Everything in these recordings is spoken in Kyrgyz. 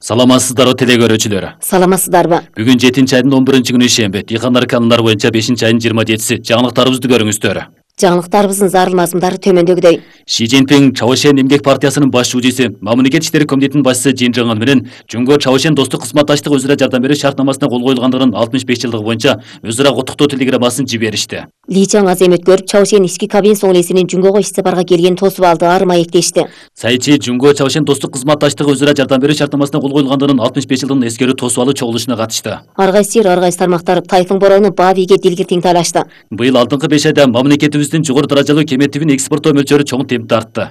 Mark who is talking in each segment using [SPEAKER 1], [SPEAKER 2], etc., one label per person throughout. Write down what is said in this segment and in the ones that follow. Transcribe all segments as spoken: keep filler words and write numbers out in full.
[SPEAKER 1] Саламатсыздарбы теле көрүүчүлөр.
[SPEAKER 2] Саламатсыздарбы.
[SPEAKER 1] Бүгүн жетинчи айдын он биринчи күнү ишемби. Дыйкандар канундар боюнча бешинчи айдын жыйырма жетиси. Жаңылыктарыбызды көрүңүздөр.
[SPEAKER 2] Жаңылыктарыбыздын зарыл мазмундары төмөндөгүдөй.
[SPEAKER 1] Ши Цзиньпин Чавошен эмгек партиясынын баш жуучусу, Мамлекет иштери комитетинин башчысы Жин Жыңын менен Жумго Чавошен достук кызматташтык өзара жардам берүү шартнамасына кол коюлгандыгынын алтымыш беш жылдыгы боюнча өзара куттуктоо телеграммасын жиберишти.
[SPEAKER 2] Ли Чаң азем өткөрүп, Чавошен ички кабинет соңлесинин Жумгого иш сапарга келген тосуп алды, ары маектешти.
[SPEAKER 1] Сайчы Жумго Чавошен достук кызматташтык өзара жардам берүү шартнамасына кол коюлгандыгынын алтымыш беш жылдыгын эскерүү тосуп алуу чогулушуна катышты.
[SPEAKER 2] Ар кайсы ар кайсы тармактар Тайфун бороону баа бийге дилгиртиң талашты.
[SPEAKER 1] Быйыл алдыңкы беш айда мамлекетибиздин жогору даражалуу кеметибин экспорттоо мөлчөрү чоң темпте артты.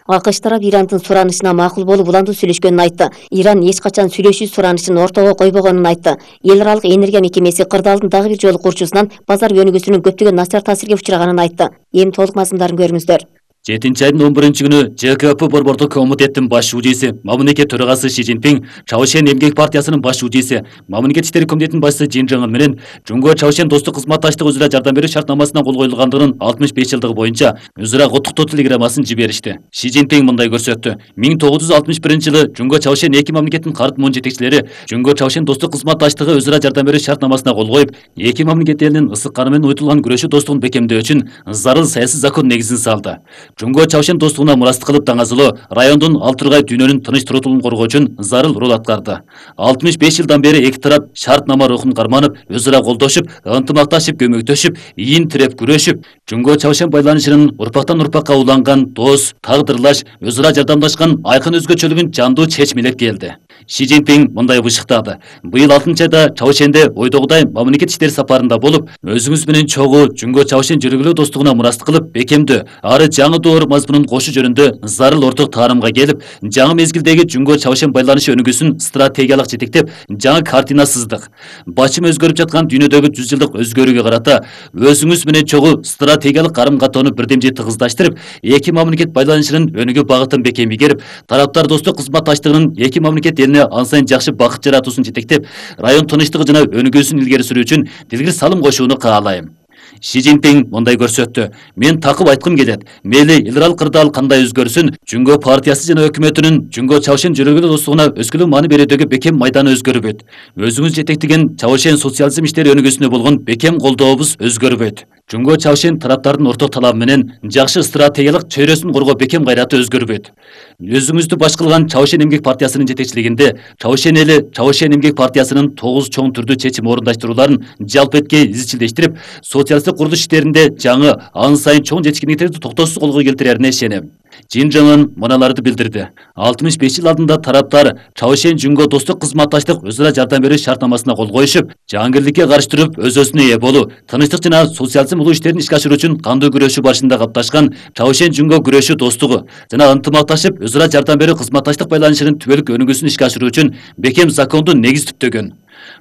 [SPEAKER 2] АКШ тарап Ирандын суранышына макул болуп уландуу сүйлөшкөнүн айтты. Иран эч качан сүйлөшүү суранышын ортого койбогонун айтты. Эл аралык энергия мекемеси кырдаалдын дагы бир жолу курчусунан базар өнүгүүсүнүн көптөгөн начар таасирге учраганын айтты. Эми толук мазмундарын көрүңүздөр.
[SPEAKER 1] жетинчи айдын он биринчи күнү Ж К П борбордук комитеттин баш жуучусу, Мамлекет төрагасы Ши Цзиньпин, Чавошен эмгек партиясынын баш жуучусу, Мамлекет иштери комитетинин башчысы Жин Жыңын менен Жумго Чавошен достук кызматташтык өзара жардам берүү шартнамасына кол коюлгандыгынын алтымыш беш жылдыгы боюнча өзара куттуктоо телеграммасын жиберишти. Ши Цзиньпин мындай көрсөттү. миң тогуз жүз алтымыш биринчи жылы Жумго Чавошен эки мамлекеттин карт муун жетекчилери Жумго Чавошен достук кызматташтыгы өзара жардам берүү шартнамасына кол коюп, эки мамлекет элинин ысык каны менен уютулган күрөшүү достугун бекемдөө үчүн зарыл саясий закон негизин салды. Жумго Чавошен достугуна мурастык кылып даңазылоо райондун ал тургай дүйнөнүн тыныч турутулуун коргоо үчүн зарыл роль аткарды. алтымыш беш жылдан бери эки тарап шартнама рухун карманып, өзара колдошуп, ынтымакташып, көмөктөшүп, ийин тиреп күрөшүп, Жумго Чавошен байланышынын урпактан урпакка уланган дос, тагдырлаш, өзара жардамдашкан айкын өзгөчөлүгүн жандуу чечмелеп келди. Ши Цзиньпин мындай бышыктады. Быйыл алтынчы айда Чавошенде ойдогудай мамлекет иштери сапарында болуп, өзүңүз менен чогуу Жумго Чавошен жүргүлөө достугуна мурастык кылып, бекемдөө, ары жаңы доор мазмунун кошуу жөнүндө зарыл орток таарымга келип, жаңы мезгилдеги Жумго Чавошен байланышы өнүгүүсүн стратегиялык жетектеп, жаңы картина сыздык. Бачым өзгөрүп жаткан дүйнөдөгү жүз жылдык өзгөрүүгө карата өзүңүз менен чогуу стратегиялык карым-катоону бирдемжи тыгыздаштырып, эки мамлекет байланышынын өнүгүү багытын бекем игерип, тараптар достук кызматташтыгынын эки мамлекет элине ан сайын жакшы бакыт жаратуусун жетектеп, район тынчтыгы жана өнүгүүсүн илгери сүрүү үчүн дилгир салым кошууну каалайм. Ши Цзиньпин мындай көрсөттү. Мен такып айткым келет. Мейли илрал кырдаал кандай өзгөрсүн, Жумго партиясы жана өкмөтүнүн Жумго Чавошен жүргүлөө достугуна өскөлүү маани берүүдөгү бекем майданы өзгөрбөйт. Өзүңүз жетектеген Чавошен социализм иштери өнүгүүсүнө болгон бекем колдообуз өзгөрбөйт. Жумго Чавошен тараптардын орток талабы менен жакшы стратегиялык чөйрөсүн коргоо бекем кайраты өзгөрбөйт. Өзүңүздү баш кылган Чавошен эмгек партиясынын жетекчилигинде Чавошен эли Чавошен эмгек партиясынын тогуз чоң түрдүү чечим орундаштырууларын жалпы эткей изчилдештирип, социалисттик курулуш иштеринде жаңы, ан сайын чоң жетишкендиктерди токтоосуз колго келтирерине ишенем. Жин Жыңын мыналарды билдирди. алтымыш беш жыл алдында тараптар Чавошен Жумго достук кызматташтык өзара жардам берүү шартнамасына кол коюшуп, жаангирликке каршы туруп өз-өзүнө ээ болуу, тынчтык жана социализм улуу иштерин ишке ашыруу үчүн кандуу күрөшүү барышында капташкан Чавошен Жумго күрөшүү достугу жана ынтымакташып өзара жардам берүү кызматташтык байланышынын түбөлүк өнүгүүсүн ишке ашыруу үчүн бекем закондуу негиз түптөгөн.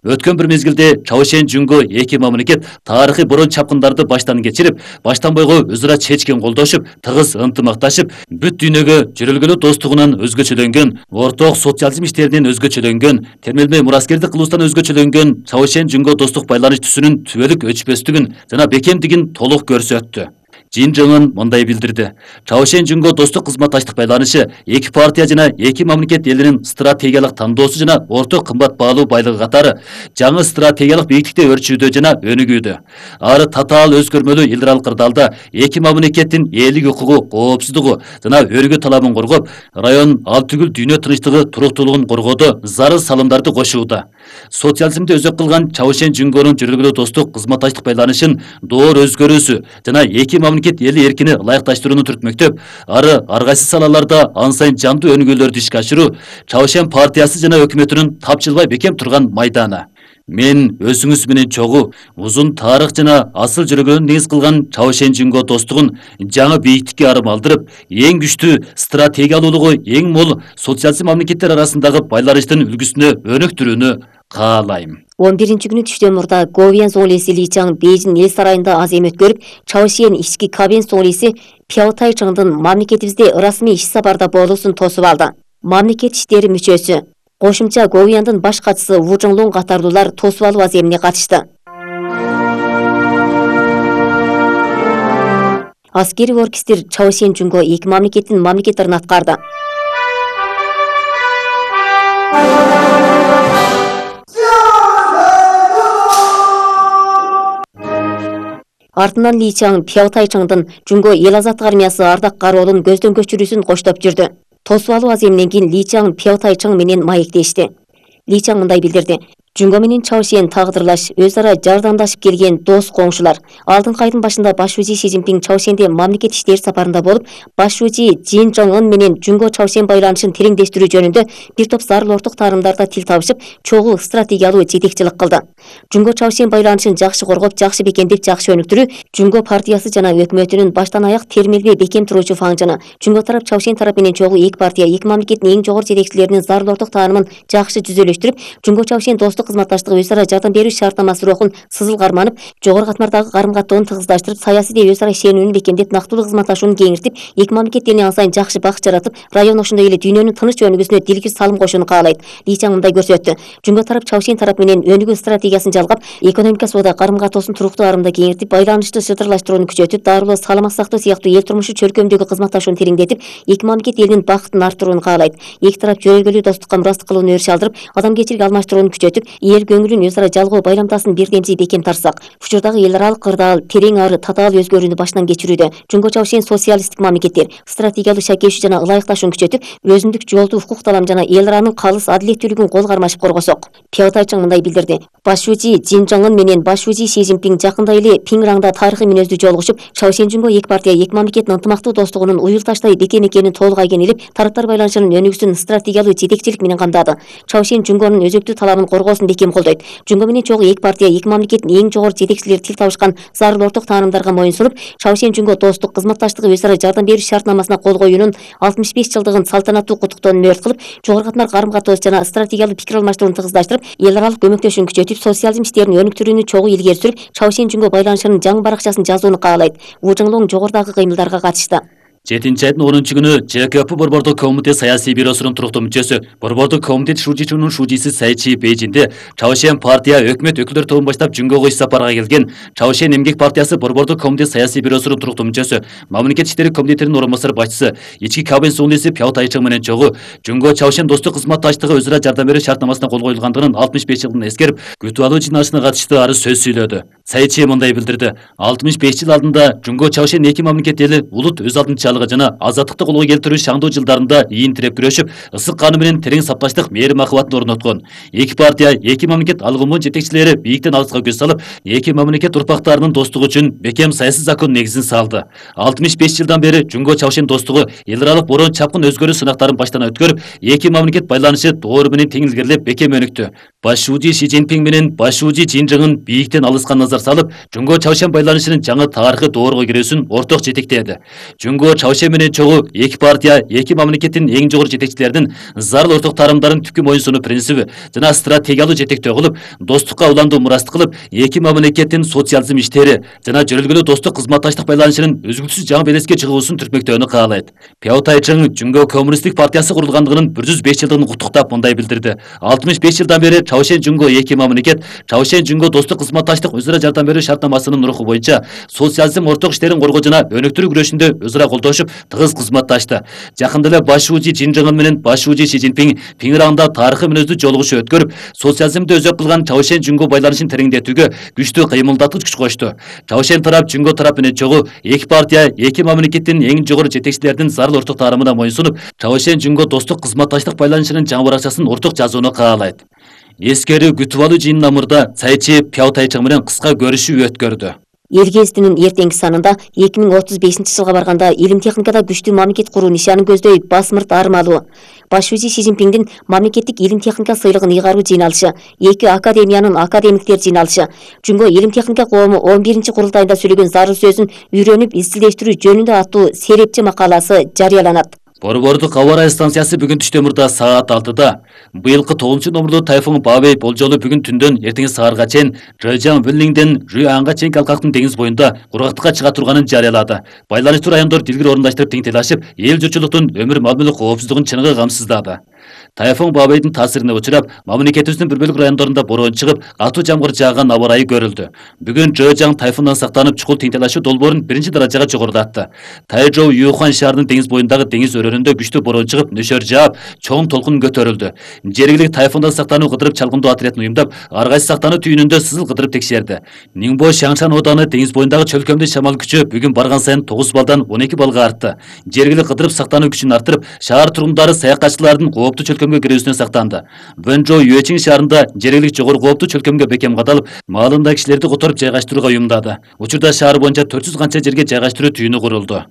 [SPEAKER 1] Өткөн бир мезгилде Чавошен Жумго эки мамлекет тарыхый борон чапкындарды баштан кечирип, баштан бойго өзара чечкен колдошуп, тыгыз ынтымакташып, бүт дүйнөгө жүрөлгөлөө достугунан өзгөчөлөнгөн, орток социализм иштеринен өзгөчөлөнгөн, термелмей мураскердик кылуустан өзгөчөлөнгөн Чавошен Жумго достук байланыш түсүнүн түбөлүк өчпөстүгүн жана бекемдигин толук көрсөттү. Жин Жыңын мындай билдирди. Чавошен Жумго достук кызматташтык байланышы эки партия жана эки мамлекет элинин стратегиялык тандоосу жана орток кымбат баалуу байлыгы катары жаңы стратегиялык бийиктикте өрчүүдө жана өнүгүүдө. Ары татаал өзгөрмөлүү илрал кырдаалда эки мамлекеттин элдик укугу, коопсуздугу жана өргө талабын коргоп, район ал түгүл дүйнө тынчтыгы, туруктуулугун коргоодо зарыл салымдарды кошууда. Социализмди өзөк кылган Чавошен Жумгонун жүргүлөө достук кызматташтык байланышын доор өзгөрүүсү жана эки мамлекет эли эркини ылайыкташтырууну түртмөктөп, ары ар кайсы салаларда ан сайын жандуу өнүгүүлөрдү ишке ашыруу Чавошен партиясы жана өкмөтүнүн тапчылбай бекем турган майданы. Мен өзүңүз менен чогуу узун тарых жана асыл жүргөнүн негиз кылган Чавошен Жумго достугун жаңы бийиктикке арым алдырып, эң күчтүү стратегиялуулугу эң мол социализм мамлекеттер арасындагы байланыштын үлгүсүнө өнүктүрүүнү каалайм.
[SPEAKER 2] он биринчи күнү түштөн мурда Говьян соңлеси Ли Чаң Бейжин эл сарайында азем өткөрүп, Чавошен ички кабинет соңлеси Пяо Тайчыңдын мамлекетибизде ырасмий иш сапарда болуусун тосуп алды. Мамлекет иштери мүчөсү, кошумча Говьяндын баш катчысы Ву Чжоңлун катарлуулар тосуп алуу аземине катышты. Аскери оркестр Чавошен Жумго эки мамлекеттин мамлекеттерин аткарды. Артынан Ли Чаң Пяотайчыңдын Жунго эл азаттык армиясы ардак кароолун көздөн көчүрүүсүн коштоп жүрдү. Тосуп алуу аземинен кийин Ли Чаң Пяотайчың менен маектешти. Ли Чаң мындай билдирди: Жунго менен Чаошен тагдырлаш, өз ара жардамдашып келген дос коңшулар. Алдыңкы айдын башында баш шужи Си Цзиньпин Чаошенде мамлекет иштери сапарында болуп, баш шужи Цзин Чжоңун менен Жунго Чаошен байланышын тереңдештирүү жөнүндө бир топ зарыл орток таарымдарда тил табышып, чогуу стратегиялуу жетекчилик кылды. Жунго Чаошен байланышын жакшы коргоп, жакшы бекемдеп, жакшы өнүктүрүү Жунго партиясы жана өкмөтүнүн баштан аяк термелбей бекем туруучу фаңжыны. Жунго тарап Чаошен тарап менен чогуу эки партия, эки мамлекеттин эң жогору жетекчилеринин зарыл орток таарымын жакшы жүзөлөштүрүп, Жунго Чаошен достук кызматташтыгы өз ара жардам берүү шартнамасы рухун сызыл карманып, жогору катмардагы карым-каттоонун тыгыздаштырып, саясий өз ара ишенүүнү бекемдеп, нактылуу кызматташууну кеңиртип, эки мамлекеттерине ан сайын жакшы бакыт жаратып, район ошондой эле дүйнөнүн тыныч өнүгүүсүнө дилгиз салым кошууну каалайт. Ли Чаң мындай көрсөттү: Жунго тарап Чаошен тарап менен өнүгүү стратегиясын жалгап, экономика соода карым-каттоосун туруктуу арымда кеңиртип, байланышты шытырлаштырууну күчөтүп, дарылоо, саламат сактоо сыяктуу эл турмушу чөлкөмдөгү кызматташууну тереңдетип, эки мамлекет элинин бакытын арттырууну каалайт. Эки тарап жөрөлгөлүү достукка мурастык кылууну өрүш алдырып, адамгерчилик алмаштырууну күчөтүп, эл көңүлүн өз ара жалгоо байламдасын бирдемчи бекем тартсак, учурдагы эл аралык кырдаал терең ары татаал өзгөрүүнү баштан кечирүүдө Жунго Чаошен социалисттик мамлекеттер стратегиялуу шакешүү жана ылайыкташууну күчөтүп, өзүндүк жолду укук талам жана эл аранын калыс адилеттүүлүгүн кол кармашып коргосок. Пяотайчың мындай билдирди: Баш шужи Цзин Чжоңун менен баш шужи Си Цзиньпин жакында эле Пиңраңда тарыхый мүнөздүү жолугушуп, Чаошен Жунго эки партия, эки мамлекеттин ынтымактуу достугунун уюлташтай бекем экенин толук айгинелеп, тараптар байланышынын өнүгүүсүн стратегиялуу жетекчилик менен камдады. Чаошен Жунгонун өзөктүү талабын коргоосун бекем колдойт. Жунго менен чогуу эки партия, эки мамлекеттин эң жогору жетекчилери тил табышкан зарыл орток таарымдарга моюн сунуп, Чаошен Жунго достук кызматташтыгы өз ара жардам берүү шартнамасына кол коюунун алтымыш беш жылдыгын салтанаттуу куттуктоону өрт кылып, жогору катмар карым-каттоос жана стратегиялуу пикир алмаштырууну тыгыздаштырып, эл аралык көмөктөшүүнү күчөтүп, социализм иштерин өнүктүрүүнү чогуу илгери сүрүп, Чаошен Жунго байланышынын жаңы баракчасын жазууну каалайт. Ву Жыңлоң жогорудагы кыймылдарга катышты.
[SPEAKER 1] жетинчи айдын онунчу күнү Ж К П Борбордук комитет саясий бюросунун туруктуу мүчөсү, Борбордук комитет шужичунун шужиси Сайчи Бейжинде Чаошен партия өкмөт өкүлдөр тобун баштап Жунгого иш сапарга келген Чаошен эмгек партиясы Борбордук комитет саясий бюросунун туруктуу мүчөсү, мамлекет иштери комитетинин орун басар башчысы, ички кабинет соглиси Пяотайчың менен чогуу Жунго Чаошен достук кызматташтыгы өз ара жардам берүү шартнамасына кол коюлгандыгын алтымыш беш жылдын эскерип, күтүп алуу жыйналышына катыштуу арыз сөз сүйлөдү. Сайчи мындай билдирди: алтымыш беш жыл алдында Жунго Чаошен эки мамлекет эли улут өз алдынчалыгы жана азаттыкты колго келтирүү шаңдуу жылдарында ийин тиреп күрөшүп, ысык каны менен терең сапташтык мээрим акыбатын орноткон. Эки партия, эки мамлекет алгымын жетекчилери бийиктен алыска көз салып, эки мамлекет урпактарынын достугу үчүн бекем саясий закон негизин салды. алтымыш беш жылдан бери Жунго Чаошен достугу эл аралык борон чапкын өзгөрүү сынактарын баштан өткөрүп, эки мамлекет байланышы доору менен тең илгерилеп бекем өнүктү. Баш шужи Си Цзиньпин менен баш шужи Цзин Чжоңун бийиктен алыска назар салып, Жунго Чаошен байланышынын жаңы тарыхый доорго кирүүсүн орток жетектеди. Жунго Чаошен менен чогуу эки партия, эки мамлекеттин эң жогору жетекчилеринин зарыл орток таарымдарын түпкү моюнсунуу принциби жана стратегиялуу жетектөө кылып, достукка уландуу мурастык кылып, эки мамлекеттин социализм иштери жана жөрөлгөлүү достук кызматташтык байланышынын үзгүлтүсүз жаңы белеске чыгуусун түртмөктөөнү каалайт. Пяотайчың Жунго коммунисттик партиясы курулгандыгынын бир жүз беш жылдыгын куттуктап мындай билдирди: алтымыш беш жылдан бери Чаошен Жунго эки мамлекет, Чаошен Жунго достук кызматташтык өз ара жардам берүү шартнамасынын руху боюнча социализм орток иштерин коргоо жана өнүктүрүү күрөшүндө өз ара колдошуп, тыгыз кызматташты. Жакында эле баш шужи Цзин Чжоңун менен баш шужи Си Цзиньпин Пиңраңда тарыхый мүнөздүү жолугушуу өткөрүп, социализмди өзөк кылган Чаошен Жунго байланышын тереңдетүүгө күчтүү кыймылдаткыч күч кошту. Чаошен тарап Жунго тарап менен чогуу эки партия, эки мамлекеттин эң жогору жетекчилеринин зарыл орток таарымына моюнсунуп, Чаошен Жунго достук кызматташтык байланышынын жаңы баракчасын орток жазууну каалайт. Эскерүү күтүп алуу жыйынына мурда Сайчи Пяотайчың менен кыска көрүшүү өткөрдү.
[SPEAKER 2] Эл гезитинин эртеңки санында эки миң отуз бешинчи жылга барганда илим техникада күчтүү мамлекет куруу нишанын көздөй басмырт армалуу. Баш шужи Си Цзиньпиндин мамлекеттик илим техника сыйлыгын ыйгаруу жыйналышы, эки академиянын академиктер жыйналышы, Жунго илим техника коому он биринчи курултайында сүйлөгөн зарыл сөзүн үйрөнүп изилдештирүү жөнүндө аттуу серепчи макаласы жарыяланат.
[SPEAKER 1] Борбордук аба ырайы станциясы бүгүн түштө мурда саат алтыда быйылкы тогузунчу номурлуу тайфун Бабей болжолу бүгүн түндөн эртеңки саарга чейин Жэжан Виллиңден Жуанга чейин калкактын деңиз боюнда кургактыкка чыга турганын жарыялады. Байланыштуу райондор дилгир орундаштырып тең тилашып, эл журтчулуктун өмүр мал мүлк коопсуздугун чыныгы камсыздады. Тайфун Бабайдын таасирине учурап, мамлекетибиздин бир бөлүк райондорунда бороон чыгып, катуу жамгыр жааган аба ырайы көрүлдү. Бүгүн Жэжаң тайфундан сактанып, чукул теңтелашуу долбоорун биринчи даражага жогорулатты. Тайжоу Юхан шаарынын деңиз боюндагы деңиз өрөөнүндө күчтүү бороон чыгып, нөшөр жаап, чоң толкун көтөрүлдү. Жергиликтүү тайфундан сактануу кыдырып чалгындоо отрядын уюмдап, ар кайсы сактануу түйүнүндө сызыл кыдырып текшерди. Ниңбо Шаңшан ооданы деңиз боюндагы чөлкөмдү шамал күчү бүгүн барган сайын тогуз балдан он эки балга артты. Жергиликтүү кыдырып сактануу күчүн арттырып, шаар тургундары саякатчылардын кооптуу чөлкөмгө кирүүсүнөн сактанды. Вэнжоу Юэчиң шаарында жергиликтүү жогору кооптуу чөлкөмгө бекем кадалып, маалындагы кишилерди которуп жайгаштырууга уюмдады. Учурда шаар боюнча төрт жүз канча жерге жайгаштыруу түйүнү курулду.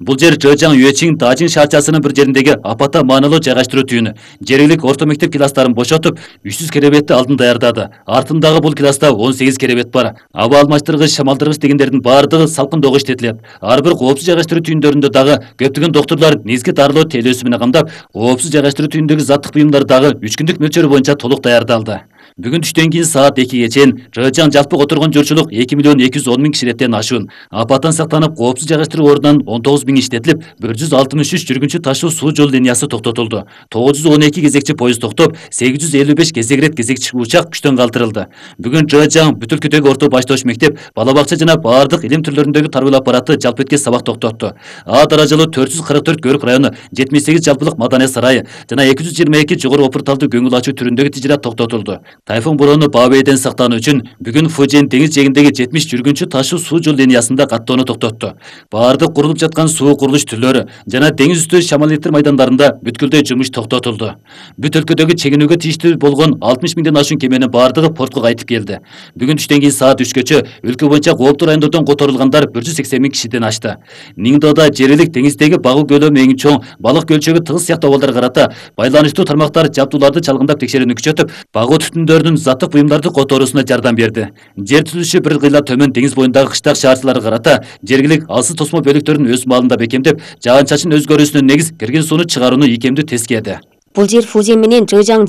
[SPEAKER 1] Бул жер Жэжаң Юэчиң Дажин шаарчасынын бир жериндеги апатта маанилүү жайгаштыруу түйүнү. Жергиликтүү орто мектеп класстарын бошотуп, үч жүз керебетти алдын даярдады. Артындагы бул класста он сегиз керебет бар. Аба алмаштыргыч, шамалдыргыч дегендердин баардыгы салкындоого иштетилет. Ар бир коопсуз жайгаштыруу түйүндөрүндө дагы көптөгөн доктурлар негизги дарылоо тейлөөсү менен камдап, коопсуз жайгаштыруу түйүндөгү заттык буюмдар дагы үч күндүк мөлчөрү боюнча толук даярдалды. Бүгүн түштөн кийин саат экиге чейин Жэжаң жалпы отурган журчулук эки миллион эки жүз он миң кишилеттен ашуун. Апаттан сактанып, коопсуз жайгаштыруу ордунан он тогуз миң иштетилип, бир жүз алтымыш үч жүргүнчү ташуу суу жол линиясы токтотулду. тогуз жүз он эки кезекчи поезд токтоп, сегиз жүз элүү беш кезегирет кезекчи учак күчтөн калтырылды. Бүгүн Жэжаң Бүтүл Күтөгү орто баштооч мектеп, бала бакча жана баардык илим түрлөрүндөгү тарбиялоо аппараты жалпы эткес сабак токтотту. А даражалуу төрт жүз кырк төрт Көрүк району, жетимиш сегиз жалпылык маданият сарайы жана эки жүз жыйырма эки жогору опурталдуу көңүл ачуу түрүндөгү тижират токтотулду. Тайфун бороону Бабайден сактануу үчүн бүгүн Фужин деңиз жээгиндеги жетимиш жүргүнчү ташуу суу жол линиясында каттоону токтотту. Баардык курулуп жаткан суу курулуш түрлөрү жана деңиз үстү шамал электр майдандарында бүткүлдөй жумуш токтотулду. Бүт өлкөдөгү чегинүүгө тийиштүү болгон алтымыш миңден ашуун кеменин баардыгы портко кайтып келди. Бүгүн түштөн кийин саат үчкөчө өлкө боюнча кооптуу райондордон которулгандар бир жүз сексен миң кишиден ашты. Ниңдода жергиликтүү деңиздеги багуу көлөмү эң чоң, балык көлчөгү тыгыз сыяктуу абалдарга карата байланыштуу тармактар жабдууларды чалгындап текшерүүнү күчөтүп, багуу түтүндөрдүн заттык буюмдарды которуусуна жардам берди. Жер түзүлүшү бир кыйла төмөн деңиз боюндагы кыштак шаарчыларга карата жергилик алсыз тосмо бөлүктөрүн өз маалында бекемдеп, жаан чачын өзгөрүүсүнө негиз кирген сууну чыгарууну ийкемдүү тескеди.
[SPEAKER 2] Бул жер Фужин менен Жэжаң